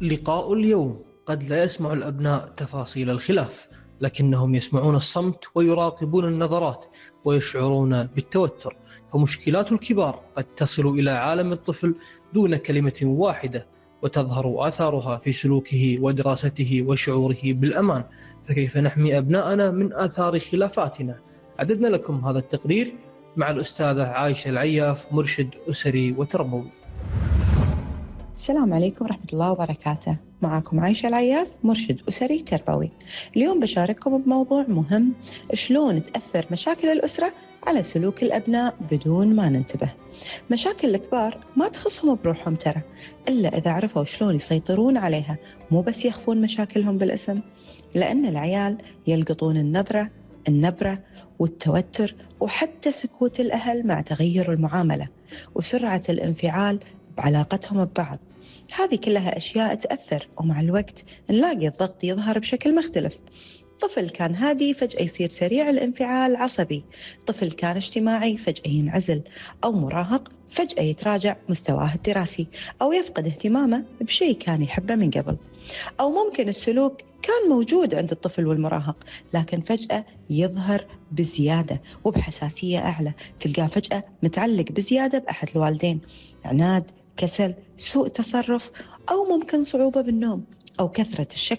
لقاء اليوم. قد لا يسمع الأبناء تفاصيل الخلاف، لكنهم يسمعون الصمت ويراقبون النظرات ويشعرون بالتوتر. فمشكلات الكبار قد تصل إلى عالم الطفل دون كلمة واحدة، وتظهر آثارها في سلوكه ودراسته وشعوره بالأمان. فكيف نحمي أبناءنا من آثار خلافاتنا؟ عددنا لكم هذا التقرير مع الأستاذة عايشة العياف، مرشد أسري وتربوي. السلام عليكم ورحمة الله وبركاته. معكم عايشة العياف، مرشد أسري تربوي. اليوم بشارككم بموضوع مهم: شلون تأثر مشاكل الأسرة على سلوك الأبناء بدون ما ننتبه. مشاكل الكبار ما تخصهم بروحهم ترى، إلا إذا عرفوا شلون يسيطرون عليها، مو بس يخفون مشاكلهم بالاسم. لأن العيال يلقطون النبرة والتوتر، وحتى سكوت الأهل مع تغير المعاملة وسرعة الانفعال بعلاقتهم ببعض. هذه كلها أشياء تأثر، ومع الوقت نلاقي الضغط يظهر بشكل مختلف. طفل كان هادي فجأة يصير سريع الانفعال، عصبي. طفل كان اجتماعي فجأة ينعزل. أو مراهق فجأة يتراجع مستواه الدراسي، أو يفقد اهتمامه بشيء كان يحبه من قبل. أو ممكن السلوك كان موجود عند الطفل والمراهق، لكن فجأة يظهر بزيادة وبحساسية أعلى. تلقاه فجأة متعلق بزيادة بأحد الوالدين، عناد، كسل، سوء تصرف، أو ممكن صعوبة بالنوم، أو كثرة الشك